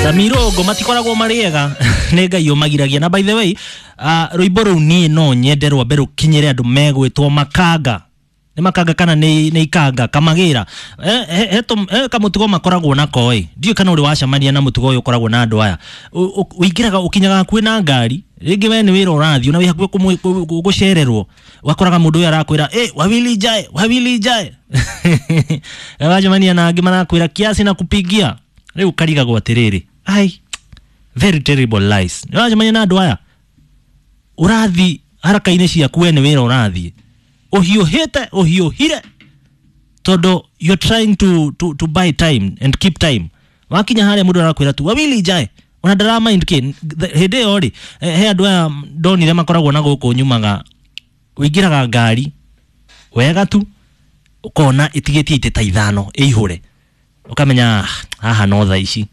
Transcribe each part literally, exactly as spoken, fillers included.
Samirogo matikoragwo marĩ ega, nĩ Ngai ũmagiragia. Na by the way, uh, rwĩmbo rũu niĩ no nyende rwambe rũkinyĩre andũ megwĩtwo makanga. Nĩ makanga kana nĩ nĩ ikanga kamagĩra? he, he, he, he kamũtugo makoragwo nako ĩ, ndiũĩ kana ũrĩ wacemania na mũtugo ũyũ ũkoragwo na andũ aya. Ũingĩraga, ũkinyaga hakuhĩ na ngari rĩngĩ, we nĩ wĩra ũrathiĩ na wĩ hakuhĩ gũcererwo, ũgakoraga mũndũ ũyũ arakwĩra, "Ĩ wawili jae, wawili jae." Wacemania na angĩ marakwĩra, "Kiasi na kupigia." Rĩu karigagwo atĩrĩrĩ, ai, very terrible lies. Nĩ wacemania na andũ aya, ũrathi haraka-inĩ ciaku, we nĩ wĩra ũrathiĩ ũhiũhĩte, ũhiũhire tondũ you're trying to, to, to buy time and keep time. Wakinya harĩa, mũndũ arakwĩra tu, "Wawili jae," ona ndara mind kĩ. Hĩndĩ ĩyo rĩ, he andũ aya ndonire makoragwo na gũkũ nyumaga, ũingĩraga ngari wega tu, ũkona ĩtigĩtie itĩ ta ithano ĩihũre, ũkamenya haha no thaa ici.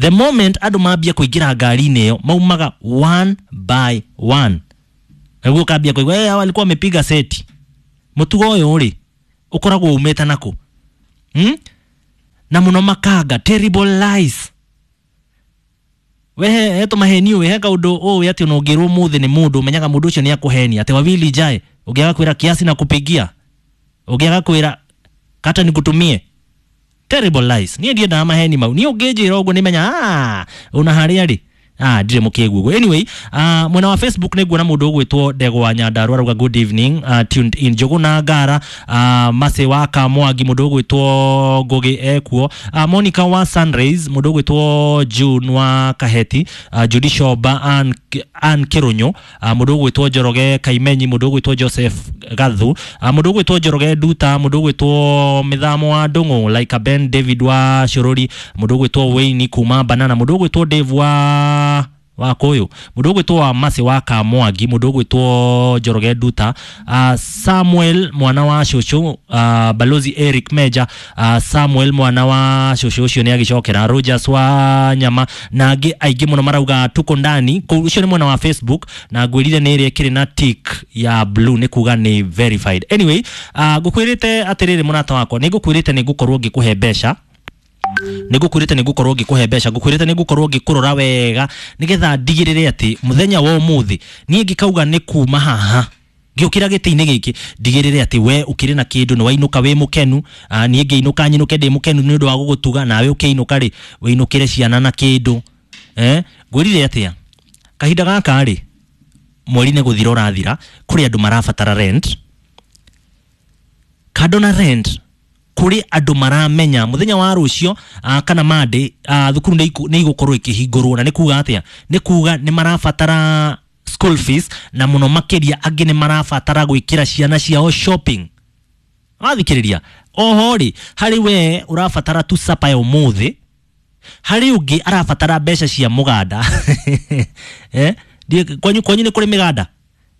The moment andũ mambia kũingĩra ngari-inĩ ĩyo, maumaga one by one, nĩguo ũkambia kũigua, "Hey, hawa walikuwa wamepiga seti." Mũtugo ũyũ rĩ, ũkoragwo umĩte nakũ, hmm? Na mũno makanga, terrible lies. We he tũmaheni ũĩ, he kaũndũ ũĩ atĩ ona ũngĩrwo mũthĩ nĩ mũndũ, ũmenyaga mũndũ ũcio nĩ akũhenia atĩ wawili jae, ũngĩaga kwĩra kiasi na kupigia, ũngĩaga kwĩra kata nikutumie. Terrible lies. Niĩ ndiendaga maheni mau. Niĩ ũngĩnjĩra ũguo, nĩmenya, ah, ona harĩa rĩ, ah, ndirĩ mũkĩgu ũguo. Anyway, uh, mwena wa Facebook nĩ nguona mũndũ ũgwĩtwo Ndegwa Nyandarua arauga, "Good evening, uh, tuned in Njũgũ Ngara." uh, Mase wa Kamwangi, mũndũ ũgwĩtwo Ngũgĩ ekuo, uh, Monica wa Sunrays, mũndũ ũgwĩtwo June wa Kaheti, uh, Judy Shomba, Ann, Ann Kĩrũnyũ, uh, mũndũ ũgwĩtwo Njoroge Kaimenyi, mũndũ ũgwĩtwo Joseph Gathu, uh, mũndũ ũgwĩtwo Njoroge Nduta, mũndũ ũgwĩtwo Mĩthamo wa Ndũng'ũ, like Ben David wa Shũrũri, mũndũ ũgwĩtwo Wayne kuma Banana, mũndũ ũgwĩtwo Dave wa wa kũyũ, mũndũ ũgwĩtwo wa Masi wa Kamwangi, mũndũ ũgwĩtwo Njoroge Nduta, uh, Samuel mwana wa cũcũ, uh, Balozi Eric Meja, uh, Samuel mwana wa cũcũ ũcio nĩ agĩcokera, Rogers wa Nyama na angĩ aingĩ mũno marauga tuko ndani kũu. Ũcio nĩ mwena wa Facebook, na ngwĩrire nĩ ĩrĩa ĩkĩrĩ na tick ya blue, nĩ kuga nĩ verified. Anyway, uh, ngũkwĩrĩte atĩrĩrĩ, mũrata wakwa, nĩ ngũkwĩrĩte nĩ ngũkorwo ngĩkũhe mbeca, nĩ ngũkwĩrĩte nĩ ngũkorwo ngĩkũhe mbeca, ngũkwĩrĩte nĩ ngũkorwo ngĩkũrora wega nĩgetha ndigĩrĩre atĩ mũthenya wa ũmũthĩ niĩ ngĩkauga nĩ kuma haha ngĩũkĩra gĩtĩ-inĩ gĩkĩ, ndigĩrĩre atĩ we ũkĩrĩ na kĩndũ, nĩ wainũka wĩ mũkenu. Ah, niĩ ngĩinũka nyinũke ndĩ mũkenu nĩ ũndũ wa gũgũtuga, nawe ũkĩinũka rĩ, wĩinũkĩre ciana na kĩndũ. eh ngwĩrire atĩa? Kahinda gaka rĩ, mweri nĩ gũthira ũrathira, kũrĩ andũ marabatara rent. Kando na rent, kũrĩ andũ maramenya mũthenya wa rũcio uh, kana Monday, uh, thukuru nĩ iku- nĩ igũkorwo ikĩhingũrwo, na nĩ kuga atĩa? Nĩ kuga nĩ marabatara school fees, na mũno makĩria angĩ nĩ marabatara gwĩkĩra ciana ciao shopping. Wathikĩrĩria oho rĩ, harĩ we ũrabatara tu sapa ya ũmũthĩ, harĩ ũngĩ arabatara mbeca cia mũganda. eh? Ndiĩ- kwanyu kwanyu nĩ kũrĩ mĩganda?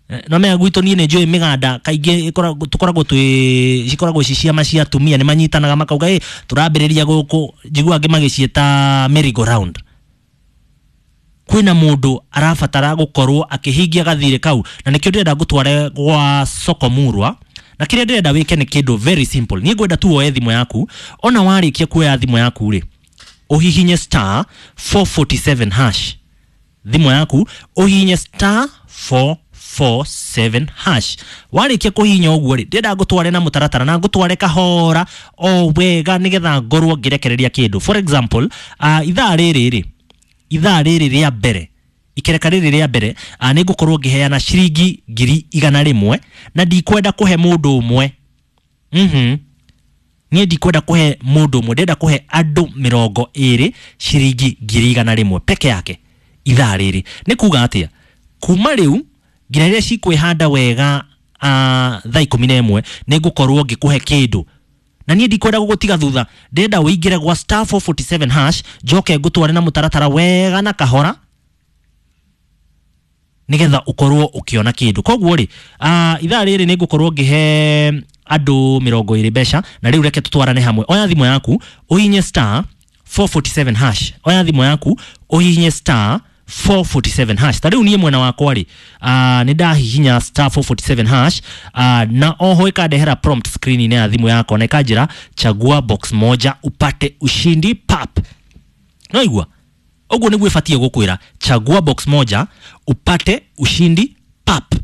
Eh, no menya gwitũ niĩ nĩ njũĩ mĩganda kaingĩ ĩkoragwo- tũkoragwo twĩ cikoragwo ci ciama cia atumia, nĩ manyitanaga makauga, "Ĩ tũrambĩrĩria gũkũ." Njigua angĩ magĩciĩta merry go round. Kwĩna mũndũ arabatara gũkorwo akĩhingia gathirĩ kau, na nĩkĩo ndĩrenda ngũtware gwa Soko Murwa. Na kĩrĩa ndĩrenda wĩke nĩ kĩndũ very simple. Niĩ ngwenda tu woe thimũ yaku. Ona warĩkia kuoya thimũ yaku rĩ, ũhihinye star four four seven hash. Thimũ yaku, ũhihinye star four four seven hash. Warĩkia kũhihinya ũguo rĩ, ndĩrenda ngũtware na mũtaratara na ngũtware kahora o wega nĩgetha ngorwo ngĩrekereria kĩndũ. For example, uh, ithaa rĩrĩ rĩ, ithaa rĩrĩ rĩa mbere, ikereka rĩrĩ rĩa mbere, uh, nĩ ngũkorwo ngĩheana ciringi ngiri igana rĩmwe, na ndikwenda kũhe mũndũ ũmwe. mhm niĩ ndikwenda kũhe mũndũ ũmwe, ndĩrenda kũhe andũ mĩrongo ĩrĩ ciringi ngiri igana rĩmwe peke yake ithaa rĩrĩ. Nĩ kuga atĩa? Kuma rĩu nginya rĩrĩa cikwĩhanda wega, uh, thaa ikũmi na ĩmwe, nĩ ngũkorwo ngĩkũhe kĩndũ, na niĩ ndikwenda gũgũtiga thutha. Ndĩrenda ũingĩre gwa star four four seven hash, njoke ngũtware na mũtaratara wega na kahora nigetha ukorwo ukiona kindu. Koguo ri, uh, ithaa rĩrĩ nĩ ngũkorwo ngĩhe andũ mĩrongo ĩrĩ mbeca, na rĩu reke tũtwarane hamwe. Oya thimũ yaku, ũhihinye star four four seven hash. Oya thimũ yaku, ũhihinye star four four seven hash. Ta rĩu niĩ mwena wakwa rĩ, uh, nĩ ndahihinya star four four seven hash, uh, na oho ĩkandehera prompt screen-inĩ ya thimũ yakwa na ĩkanjĩra, "Chagua box moja upate ushindi." Pap, no igua. Ũguo nĩguo ĩbatiĩ gũkwĩra, chagua box moja upate ushindi pap.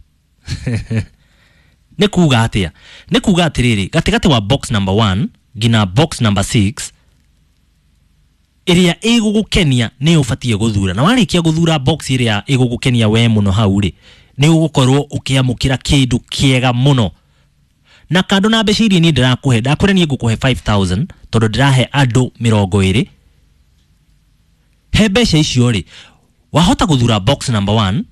Nĩ kuga atĩa? Nĩ kuga atĩrĩrĩ, gatagatĩ wa box number one nginya box number six, ĩrĩa ĩgũgũkenia nĩ ũbatiĩ gũthura. Na warĩkia gũthura box ĩrĩa ĩgũgũkenia we mũno hau rĩ, nĩ ũgũkorwo ũkĩamũkĩra kĩndũ kĩega mũno. Na kando na mbeca iria niĩ ndĩrakũhe, ndakwĩra niĩ ngũkũhe five thousand tondũ ndĩrahe andũ mĩrongo ĩrĩ. He mbeca icio rĩ, wahota gũthura box number one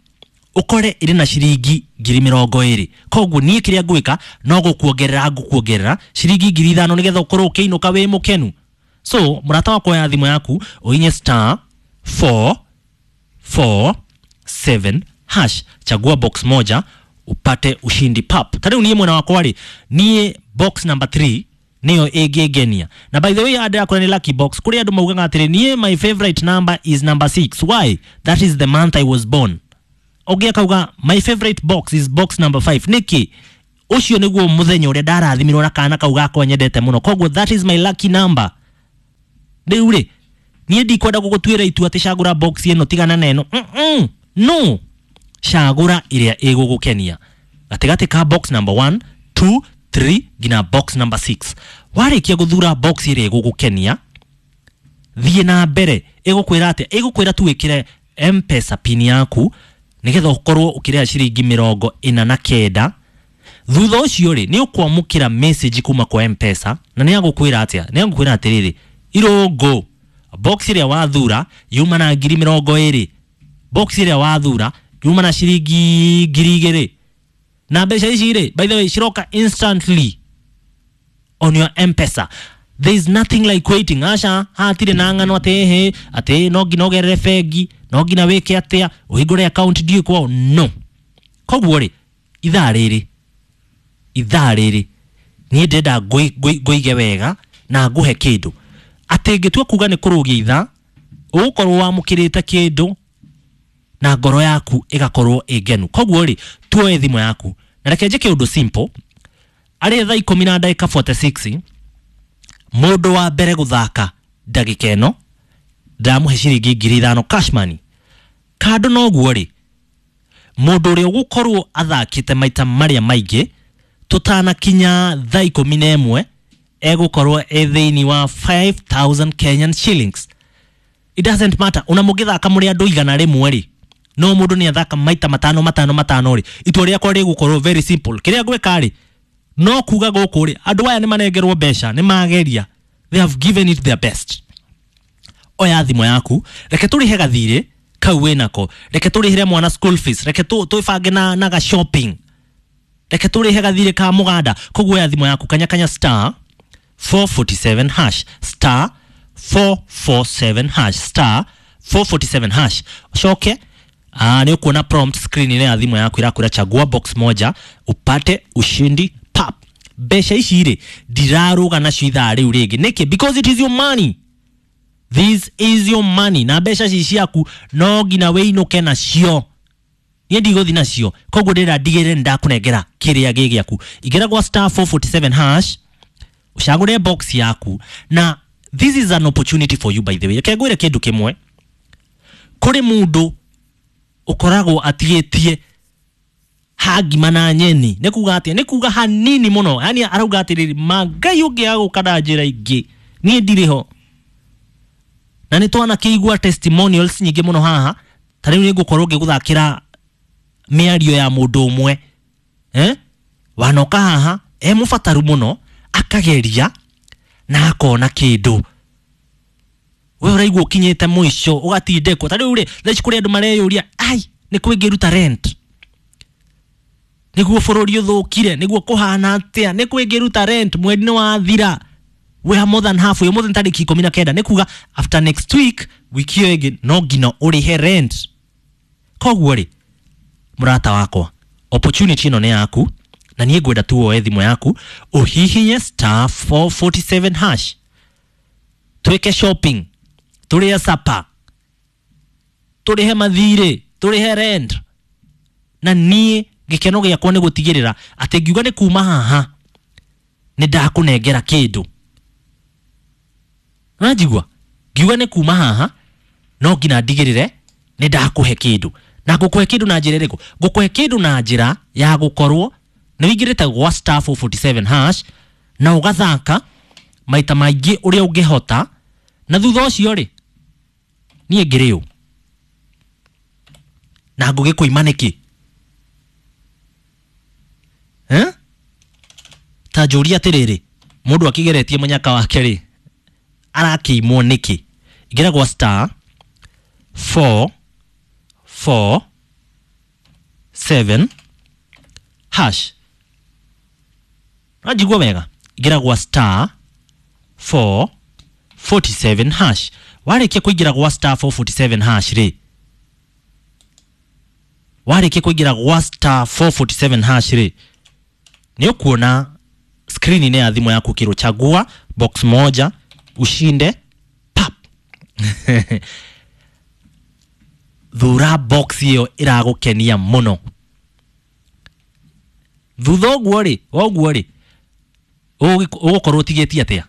ũkore ĩrĩ na ciringi ngiri mĩrongo ĩrĩ. Koguo niĩ kĩrĩa ngwĩka no gũkuongerera ngũkuongerera ciringi ngiri ithano nĩgetha ũkorwo ũkĩinũka wĩ mũkenu. So mũrata wakwa, oya thimũ yaku ũhinye star four four seven hash, chagua box moja upate ushindi pap. Ta rĩu niĩ mwena wakwa rĩ, niĩ box number three nĩyo ĩngĩngenia. Na by the way, andũ akora nĩ lucky box. Kũrĩ andũ maugaga atĩrĩ, niĩ my favorite number is number six. Why? That is the month I was born. Ũngĩ akauga my favorite box is box number five. Nĩkĩ? Ũcio nĩguo mũthenya ũrĩa ndarathimirwo na kana kau gakwa nyendete mũno, koguo that is my lucky number. Rĩu rĩ, niĩ ndikwenda gũgũtuĩra itua atĩ cagũra box ĩno tigana na ĩno. Mm-mm. No, cagũra ĩrĩa ĩgũgũkenia gatagatĩ ka box number one, two, three nginya box number six. Warĩkia gũthura box ĩrĩa ĩgũgũkenia, thiĩ na mbere. Ĩgũkwĩra atĩa? Ĩgũkwĩra tu wĩkĩre M-Pesa pin yaku nĩgetha ũkorwo ũkĩrĩha ciringi mĩrongo ĩna na kenda. Thutha ũcio rĩ, nĩ ũkwamũkĩra message kuma kwa M-Pesa, na nĩ agũkwĩra atĩa? Nĩ agũkwĩra atĩrĩrĩ, Irũngũ, box ĩrĩa wathura yuma na ngiri mĩrongo ĩrĩ, box ĩrĩa wathura yuma na ciringi ngiri igĩrĩ. Na mbeca ici rĩ, by the way, ciroka instantly on your M-Pesa. There is nothing like waiting. Aca, hatirĩ na ng'ano atĩ ĩhĩ atĩ no nginya ũgerere bengi, no nginya wĩke atĩa, ũhingũre account ndiũĩ kwao. No. Koguo rĩ, ithaa rĩrĩ ithaa rĩrĩ niĩ ndĩrenda ngũige wega na ngũhe kĩndũ atĩ ngĩtua kuga nĩ kũrũgia ithaa, ũgũkorwo wamũkĩrĩte kĩndũ na ngoro yaku ĩgakorwo ĩ ngenu. Koguo rĩ, tuoe thimũ yaku na reke njĩke ũndũ simple. Arĩ thaa ikũmi na ndagĩka forty-six, mũndũ wa mbere gũthaka ndagĩka ĩno ndamũhe ciringi ngiri ithano cash money. Kando noguo rĩ, mũndũ ũrĩa ũgũkorwo athakĩte maita marĩa maingĩ tũtanakinya thaa ikũmi na ĩmwe egũkorwo e thĩinĩ wa five thousand Kenyan shillings. It doesn't matter ona mũngĩthaka mũrĩ andũ igana rĩmwe rĩ, no mũndũ nĩ athaka maita matano matano matano rĩ, itua rĩakwa rĩgũkorwo very simple. Kĩrĩa ngwĩka rĩ, no kuga gũkũ rĩ, andũ aya nĩ manengerwo mbeca, nĩ mageria, they have given it their best. Oya thimũ yaku, reke tũrĩhe gathirĩ kau wĩnako, reke tũrĩhĩre mwana school fees, reke twĩbange na, na ga shopping, reke tũrĩhe gathirĩ ka mũganda. Koguo oya thimũ yaku, kanya kanya star four forty-seven hash, star four four seven hash, star four forty-seven hash. Ũcoke ah, nĩ ũkuona prompt screen ĩno ya thimũ yaku ĩrakwĩra chagua box moja upate ushindi pap. Mbeca ici rĩ, ndirarũga nacio ithaa rĩu rĩngĩ. Nĩkĩ? Because it is your money. This is your money. Na mbeca ici ciaku no nginya wĩinũke nacio. Niĩ ndigũthiĩ nacio. Koguo ndĩrenda ndigĩrĩre nĩndakũnengera kĩrĩa gĩ gĩaku. Ingĩra gwa star four forty-seven hash, ũcagũre box yaku. Na this is an opportunity for you, by the way. Reke ngwĩre kĩndũ kĩmwe. Kũrĩ mũndũ ũkoragwo atigĩtie hangima na nyeni. Nĩ kuga atĩa? Nĩ kuga hanini mũno. Yaani arauga atĩrĩrĩ, ma Ngai ũngĩaga gũka na njĩra ingĩ, niĩ ndirĩ ho. Na nĩ twanakĩigua testimonials nyingĩ mũno haha. Ta rĩu nĩ ngũkorwo ngĩgũthakĩra mĩario ya mũndũ ũmwe, eh? Wanoka haha e mũbataru mũno, akageria na akona kĩndũ. We ũraigua ũkinyĩte mũico ũgatindĩkwo. Ta rĩu rĩ, thaa ici kũrĩ andũ mareyũria, ai, nĩ kũ ingĩruta rent nĩguo bũrũri ũthũkire, nĩguo kũhana atĩa, nĩ kũ ingĩruta rent, mweri nĩ wathira. We are more than halfway, ũmũthĩ nĩ tarĩki ikũmi na kenda, nĩ kuga after next week, wiki ĩyo ĩngĩ no nginya ũrĩhe rent. Koguo rĩ, mũrata wakwa, opportunity ĩno nĩ yaku, na niĩ ngwenda tu woe thimũ yaku ũhihinye star four forty-seven hash, twĩke shopping, tũrĩe supper, tũrĩhe mathirĩ, tũrĩhe rent. Na niĩ gĩkeno gĩakwa nĩ gũtigĩrĩra atĩ ngiuga nĩ kuma haha nĩ ndakũnengera kĩndũ. Ũranjigua? Ngiuga nĩ kuma haha No nginya ndigĩrĩre nĩ ndakũhe kĩndũ. Na ngũkũhe kĩndũ na njĩra ĩrĩkũ? Ngũkũhe kĩndũ na njĩra ya gũkorwo nĩ wĩingĩrĩte gwa star four forty-seven hash na ũgathaka maita maingĩ ũrĩa ũngĩhota, na thutha ũcio rĩ niĩ ngĩrĩ ũ na ngũgĩkũima nĩkĩ? Eh? Ta njũria atĩrĩrĩ, mũndũ akĩgeretie mũnyaka wake rĩ arakĩimwo nĩkĩ? Ingĩra gwa star four four seven hash. Najigua wega, ingĩra gwa star four forty-seven hash. Warĩkia kũingĩra gwa star four forty-seven hash rĩ, warĩkia kũingĩra gwa star four forty-seven hash rĩ, nĩ ũkuona screen-inĩ ya thimũ yaku kĩrwo chagua box moja ushinde pap. Thura box ĩyo ĩragũkenia mũno. Thutha ũguo rĩ, ũguo rĩ, ũgũkorwo ũtigĩtie atĩa?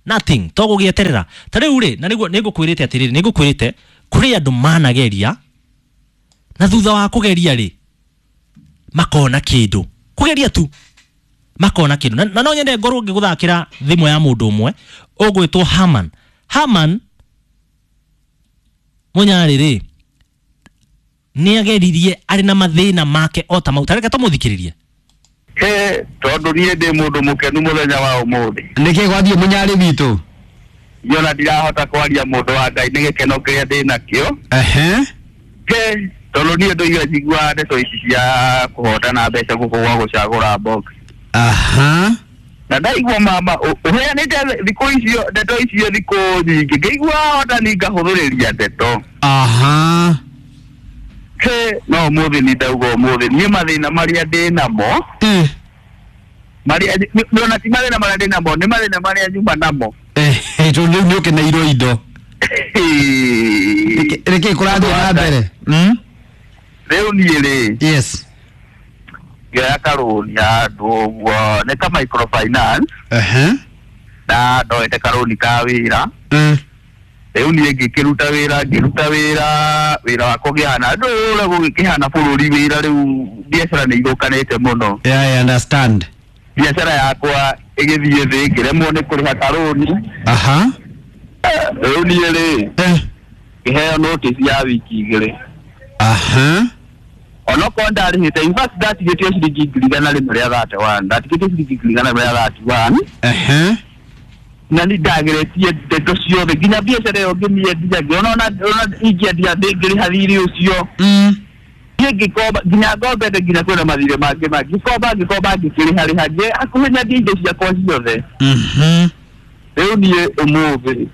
Nothing, to gũgĩeterera. Ta rĩu rĩ, na nĩguo nĩngũkwĩrĩte atĩrĩrĩ, nĩngũkwĩrĩte kũrĩ andũ manageria na thutha wa kũgeria rĩ makona kĩndũ. Kũgeria tu makona kĩndũ. Na, na no nyende ngorwo ngĩgũthakĩra thimũ ya mũndũ ũmwe ũgwĩtwo Haman. Haman Munyarĩ rĩ nĩageririe arĩ na mathĩna make o ta mau. Ta reke tũmũthikĩrĩrie. He, tondũ niĩ ndĩ mũndũ mũkenu mũthenya wa ũmũthĩ. Nĩkĩ gwathiĩ Munyarĩ witũ? Niĩ ona ndirahota kwaria mũndũ wa Ngai nĩ gĩkeno kĩrĩa ndĩ nakĩo. Ehe. He, tondũ niĩ ndoiga njiguaga ndeto ici cia kũhotana mbeca gũkũ gwa gũcagũra box. Aha. Na ndaigua mama ũheanĩte thikũ icio ndeto icio thikũ nyingĩ, ngĩigua hotani ngahũthĩrĩria ndeto. Aha. He, no ũmũthĩ nĩ ndauga ũmũthĩ niĩ mathĩna marĩa ndĩ namo Eh. marĩa ona ti mathĩna marĩa ndĩ namo, nĩ mathĩna marĩa nyuma namo. Eh, tondũ rĩu nĩ ũkeneirwo indo. Nĩkĩ kũrathiĩ na mbere? Mm? Rĩu niĩ rĩ, Yes. ngĩoya karũni handũ ũguo nĩ ka microfinance. Ehe. Na ndoete karũni ka wĩra. Mm. Rĩu niĩ ngĩkĩruta wĩra, ngĩruta wĩra, wĩra wakwa ũkĩhana ndũ ũrĩa gũgĩkĩhana bũrũri wĩra rĩu biacara nĩ ithũkanĩte mũno. Yeah, I understand. Biacara yakwa ĩgĩthiĩ thĩ, ngĩremwo nĩ kũrĩha karũni. Aha. Rĩu niĩ rĩ, Eh. ngĩheo notice ya wiki igĩrĩ. Aha. Onokorwo ndarĩhĩte, in fact ndatigĩtio ciringi ngiri igana rĩmwe rĩa thirty-one, ndatigĩtio ciringi ngiri igana rĩmwe rĩa thirty-one. Ehe. Na nĩ ndageretie ndeto ciothe nginya biacara ĩyo ngĩmĩendia, ngĩona ona ona ingĩendia ndĩngĩrĩha thirĩ ũcio. Mm. Niĩ ngĩkomba nginya ngombete nginya kwĩna mathirĩ mangĩ mangĩ, ngĩkomba ngĩkomba ngĩkĩrĩha rĩha, ngĩ hakuhĩ nyendie indo ciakwa ciothe. Mhm. Rĩu niĩ ũmũthĩ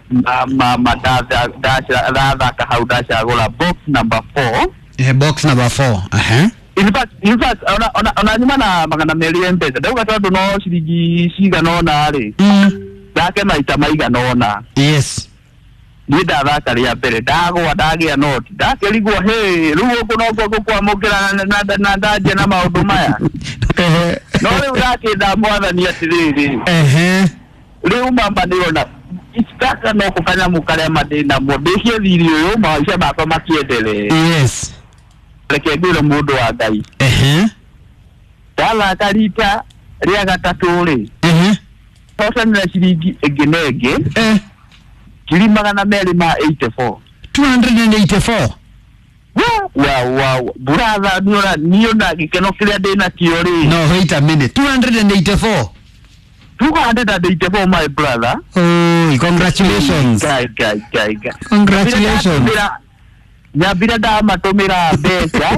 mama ndathaka hau ndacagũra box number four. Eh, box number four. Ehe. In fact, in fact, ona ona ona nyuma na magana merĩ M-Pesa ndauga tondũ no ciringi cigana ũna rĩ, Mm. ndake maita maigana ũna. Yes. Niĩ ndathaka rĩa mbere ndagwa ndagĩa noti ndakĩrigwo hĩ rĩu gũkũ nokuo gũkwamũkĩra na na na ndanjia na maũndũ maya. Ehe. No rĩu ndakĩnda mwathani atĩrĩrĩ, Ehe. rĩu mama nĩrona gaka no kanyamũ karĩa mandĩ namo ndĩkie thirĩ ũyũ maica makwa makĩendelee. Yes. Reke ngwĩre mũndũ wa Ngai, Ehe. ndathaka rita rĩa gatatũ rĩ, Ehe. hotanĩra ciringi ĩngĩ na ĩngĩ Eh. ngiri magana merĩ ma eighty-four. two hundred eighty-four. Wa wa brother, niona niona gĩkeno kĩrĩa ndĩ nakĩo rĩ. No, wait a minute. two hundred eighty-four. two hundred eighty-four, my brother. Oh, congratulations. Guy, guy, guy, guy. Congratulations. Nyambire ndamatũmĩra mbeca.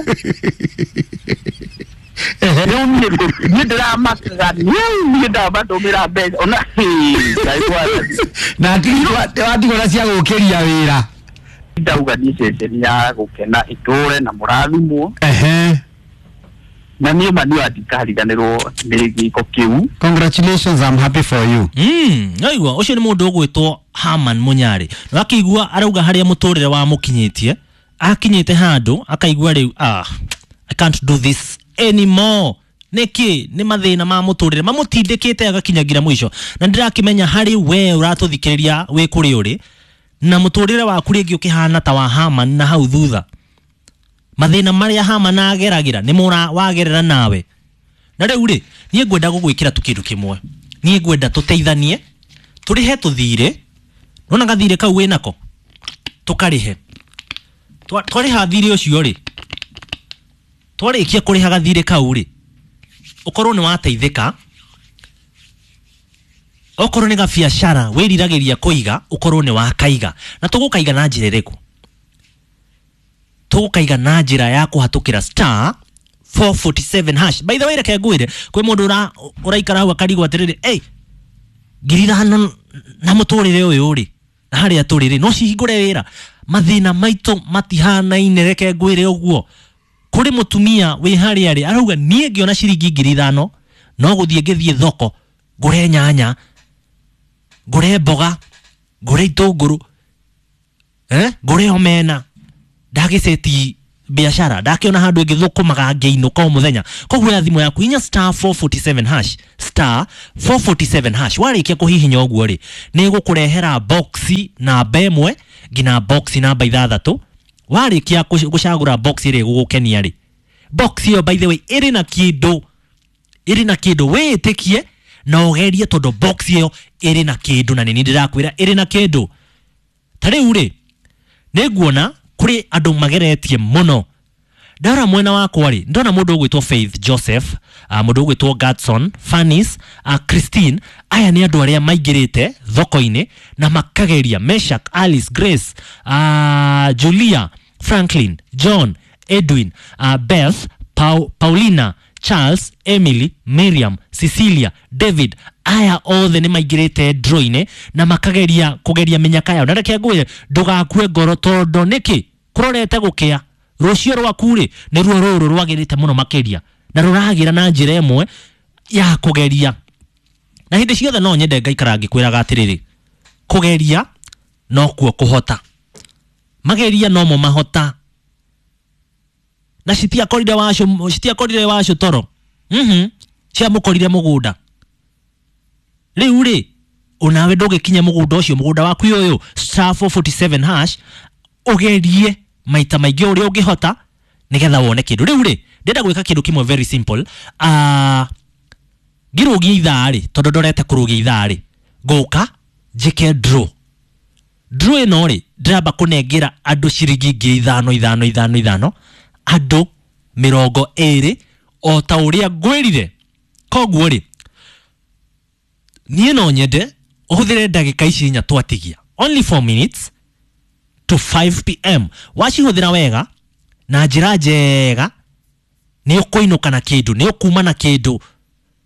Rĩu niĩ niĩ ndĩramakaga, niĩ ndamatũmĩra mbeca ona Ngai mwathani. Na watigwo na cia gũkĩria wĩra. Ndauga niĩ ceceni ya gũkena ĩtũre na mũrathimwo. Ehe. Na niĩ ma niĩ ndikariganĩrwo nĩ gĩko kĩu. Congratulations, I'm happy for you. Mm, naigua ũcio nĩ mũndũ ũgwĩtwo Haman Munyarĩ. Na akĩigua arauga harĩa mũtũrĩre wa mũkinyĩtie, akinyĩte handũ akaigua rĩu, ah, I can't do this anymore. Nĩkĩ? Nĩ mathĩna ma mũtũrĩre mamũtindĩkĩte agakinyagira mũico. Na ndĩrakĩmenya harĩ we ũratũthikĩrĩria wĩ kũrĩ ũrĩ, Na mũtũrĩre waku rĩngĩ ũkĩhana ta wa Haman na hau thutha. Mathĩna marĩa Haman ageragĩra nĩ mũra wagerera nawe. Na rĩu rĩ, niĩ ngwenda gũgwĩkĩra tu kĩndũ kĩmwe. Niĩ ngwenda tũteithanie, tũrĩhe tũthirĩ. Nona gathirĩ kau wĩnako, tũkarĩhe. Twarĩha thirĩ ũcio rĩ, twarĩkia kũrĩha gathirĩ kau rĩ, ũkorwo nĩ wateithĩka. Okorwo nĩ gabiacara wĩriragĩria kũiga, ũkorwo nĩ wakaiga. Na tũgũkaiga na njĩra ĩrĩkũ? Tũgũkaiga na njĩra ya kũhatũkĩra star four forty-seven hash. By the way, reke ngwĩre, kwĩ mũndũ ũraikara hau akarigwo atĩrĩrĩ, hey, ngiri ithano na mũtũrĩre ũyũ rĩ, na harĩa tũrĩ rĩ, no cihingũre wĩra. Mathĩna maitũ matihanaine, reke ngwĩre ũguo. Kũrĩ mũtumia wĩ harĩa rĩ, arauga niĩ ngĩona ciringi ngiri ithano, no gũthiĩ ngĩthiĩ thoko, ngũre nyanya, ngũre mboga, ngũre itũngũrũ, eh, ngũre omena, ndagĩceti biashara, ndakiona handũ ĩngĩthũkũmaga ngĩinũka o mũthenya. Koguo ya thimũ yaku inya star four forty-seven hash, star four forty-seven hash. Warĩkia kũhihinya ũguo rĩ, nĩ ĩgũkũrehera boxi namba ĩmwe nginya boxi namba ithathatũ. Warĩkia gũcagũra box ĩrĩa ĩgũgũkenia rĩ, box ĩyo by the way ĩrĩ na kĩndũ, ĩrĩ na kĩndũ wĩĩtĩkie na ũgerie, tondũ box ĩyo ĩrĩ na kĩndũ, na nĩ niĩ ndĩrakwĩra ĩrĩ na kĩndũ. Ta rĩu rĩ, nĩ nguona kũrĩ andũ mageretie mũno. Ndara mwena wakwa rĩ, ndona mũndũ ũgwĩtwo Faith Joseph, uh, mũndũ ũgwĩtwo Gadson, Fanis, uh, Christine. Aya nĩ andũ arĩa maingĩrĩte thoko-inĩ na makageria. Meshak, Alice, Grace, uh, Julia, Franklin, John, Edwin, uh, Beth, Pau, Paulina, Charles, Emily, Miriam, Cecilia, David. Aya othe nĩ maingĩrĩte draw-inĩ na makageria kũgeria mĩnyaka yao. Na reke ngwĩre, ndũgakue ngoro, tondũ nĩkĩ kũrorete gũkĩa. Rũciũ rwaku rĩ, nĩruo rũrũ rwagĩrĩte mũno makĩria, na rũragĩra na njĩra ĩmwe ya kũgeria. Na hĩndĩ ciothe no nyende ngaikara ngĩkwĩraga atĩrĩrĩ, kũgeria nokuo kũhota. Mageria nomo mahota. Na citiakorire wacu, citiakorire wacu toro. Mhm. Ciamũkorire mũgũnda. Rĩu rĩ, onawe ndũgĩkinya mũgũnda ũcio, mũgũnda waku ũyũ, star four forty-seven hash, ũgerie maita maingĩ ũrĩa ũngĩhota nĩgetha wone kĩndũ. Rĩu rĩ, ndĩrenda gwĩka kĩndũ kĩmwe very simple. Ah, ngĩrũgie ithaa rĩ, tondũ ndorete kũrũgia ithaa rĩ, ngũka njĩke draw. Draw ĩno rĩ, ndĩramba kũnengera andũ ciringi ngiri ithano ithano ithano ithano, andũ mĩrongo ĩrĩ, o ta ũrĩa ngwĩrire. Koguo rĩ, niĩ no nyende ũhũthĩre ndagĩka ici inya twatigia, only four minutes to five p m. Wacihũthĩra wega na njĩra njega, nĩ ũkũinũka na kĩndũ, nĩ ũkuma na kĩndũ.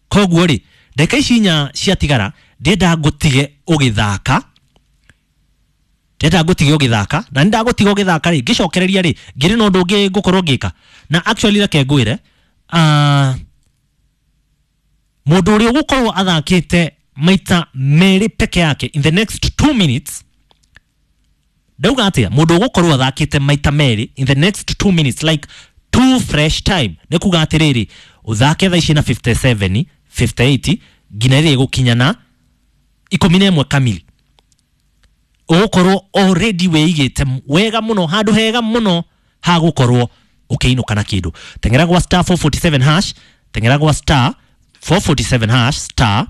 Koguo rĩ, ndagĩka ici inya ciatigara, ndĩrenda ngũtige ũgĩthaka. Ndĩrenda ngũtige ũgĩthaka, na nĩ ndagũtiga ũgĩthaka rĩ, ngĩcokereria rĩ, ngĩrĩ na ũndũ ũngĩ ngũkorwo ngĩka. Na actually reke ngwĩre, ah, mũndũ ũrĩa ũgũkorwo athakĩte maita merĩ peke yake in the next two minutes, ndauga atĩa, mũndũ ũgũkorwo athakĩte maita merĩ in the next two minutes, like two fresh time, nĩ kuga atĩrĩrĩ, ũthake thaa ici na fifty-seven, fifty-eight, nginya rĩrĩa ĩgũkinya na ikũmi na ĩmwe kamili, ũgũkorwo already wĩigĩte wega mũno, handũ hega mũno ha gũkorwo ũkĩinũka na kĩndũ. Teng'era gwa star four forty-seven hash, teng'era gwa star four forty-seven hash, star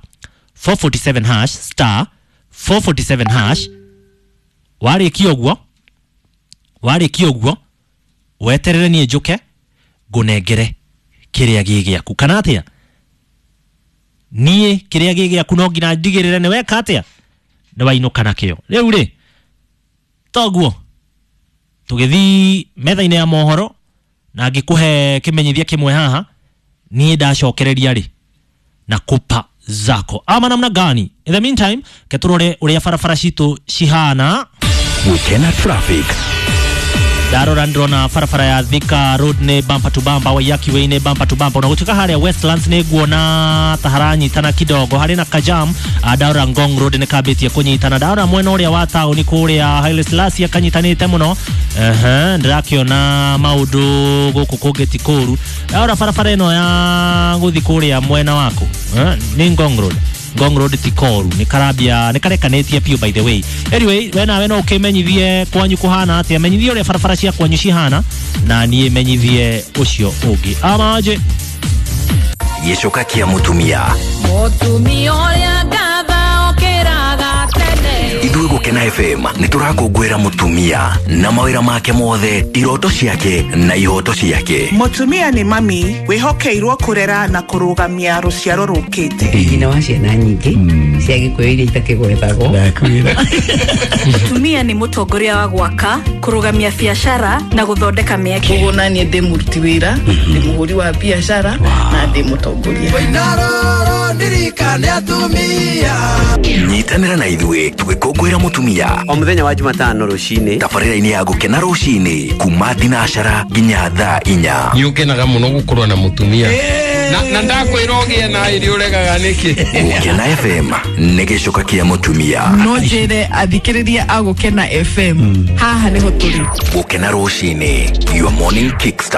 four forty-seven hash, star four forty-seven hash. Warĩkia ũguo, warĩkia ũguo, weterere niĩ njũke ngũnengere kĩrĩa gĩ gĩaku. Kana atĩa? Niĩ kĩrĩa gĩ gĩaku no nginya ndigĩrĩre nĩ weka atĩa, nĩ wainũka nakĩo. Rĩu rĩ, toguo tũgĩthiĩ metha-inĩ ya mohoro, na ngĩkũhe kĩmenyithia kĩmwe haha, niĩ ndacokereria rĩ na kupa zako ama namna gani. In the meantime, keturore ũrĩa barabara citũ cihana. Gukena traffic. Ndarora ndĩrona barabara ya Thika Road nĩ bumper to bumper, Waiyaki Way nĩ bumper to bumper, na gũtuĩka harĩa Westlands nĩ nguona ta haranyitana kidogo, harĩ na kajam. Ndarora Ngong Road nĩ kambĩtie kũnyitana, ndarora mwena ũrĩa wa taũni kũrĩa Haile Selassie kanyitanĩte mũno. Ehe, ndĩrakĩona maũndũ gũkũ kũngĩ ti kũru. Ndarora barabara ĩno ya gũthiĩ kũrĩa mwena waku, eh, nĩ Ngong Road, Ngong Road ti koru nĩ karambia nĩ karekanĩtie biũ. By the way, anyway, we nawe no ũkĩmenyithie kwanyu kũhana atĩa, menyithie ũrĩa barabara cia kwanyu cihana na niĩ menyithie ũcio ũngĩ amaje. Gĩcoka kĩa mũtumia. Mũtumia ũrĩa ngatha okĩraga tene. Ithuĩ Gũkena F M nĩ tũrakũngũĩra mũtumia na mawĩra make mothe, iroto ciake na ihoto ciake. Mũtumia nĩ mami wĩhokeirwo kũrera na kũrũgamia rũciaro rũkĩte. Nyina wa ciana nyingĩ cia Gĩkũyũ iria itakĩgwetagwo. Ndakwĩra. Mũtumia nĩ mũtongoria wa gwaka, kũrũgamia biacara na gũthondeka mĩeke. Koguo naniĩ ndĩ mũruti wĩra, ndĩ mũhũri wa biacara na ndĩ mũtongoria. Nyitanĩra na ithuĩ tũgĩkũngũĩra mũtumia o mũthenya wa Jumatano rũcinĩ tabarĩra-inĩ ya Gũkena rũcinĩ kuma thinacara nginya thaa inya. Nĩ ũkenaga mũno gũkorwo na mũtumia na, na ndakwĩra ũgĩe na ĩrĩ ũregaga nĩkĩ. Gũkena F M nĩ gĩcoka kĩa mũtumia. No njĩre athikĩrĩria a Gũkena F M, haha nĩho tũrĩ. Gũkena rũcinĩ, your morning kickstart.